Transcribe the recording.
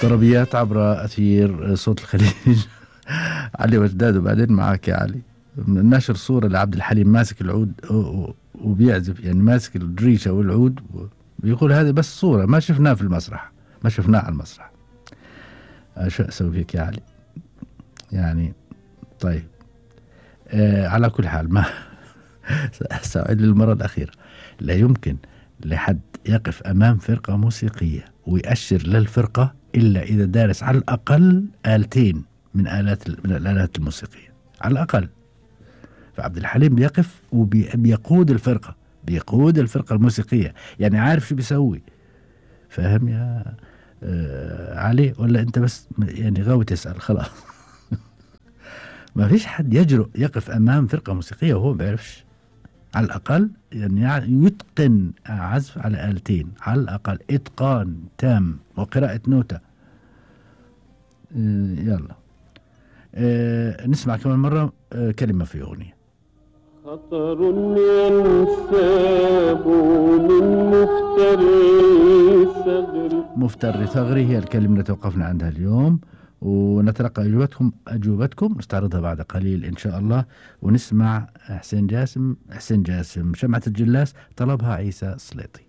طربيات عبر أثير صوت الخليج. علي وجداد. وبعدين معك يا علي نشر صورة لعبد الحليم ماسك العود وبيعزف، يعني ماسك الدريشة والعود، بيقول هذه بس صورة، ما شفناه في المسرح، ما شفناه على المسرح. شو أسوي فيك يا علي يعني. طيب على كل حال ما سأعيد للمرة الأخيرة، لا يمكن لحد يقف أمام فرقة موسيقية ويأشر للفرقة إلا إذا دارس على الأقل آلتين من الآلات الموسيقية على الأقل. فعبد الحليم بيقف وبيقود الفرقة، بيقود الفرقة الموسيقية، يعني عارف شو بيسوي. فاهم يا علي؟ ولا أنت بس يعني غاوي تسأل خلاص؟ ما فيش حد يجرؤ يقف أمام فرقة موسيقية وهو بيعرفش على الأقل يعني يتقن عزف على آلتين على الأقل، إتقان تام وقراءة نوتة. يلا نسمع كمان مرة كلمة في أغنية. خطر ينساب من مفتري ثغري هي الكلمة اللي توقفنا عندها اليوم، ونتلقى أجوبتكم نستعرضها بعد قليل إن شاء الله. ونسمع حسين جاسم شمعة الجلاس طلبها عيسى سليطي.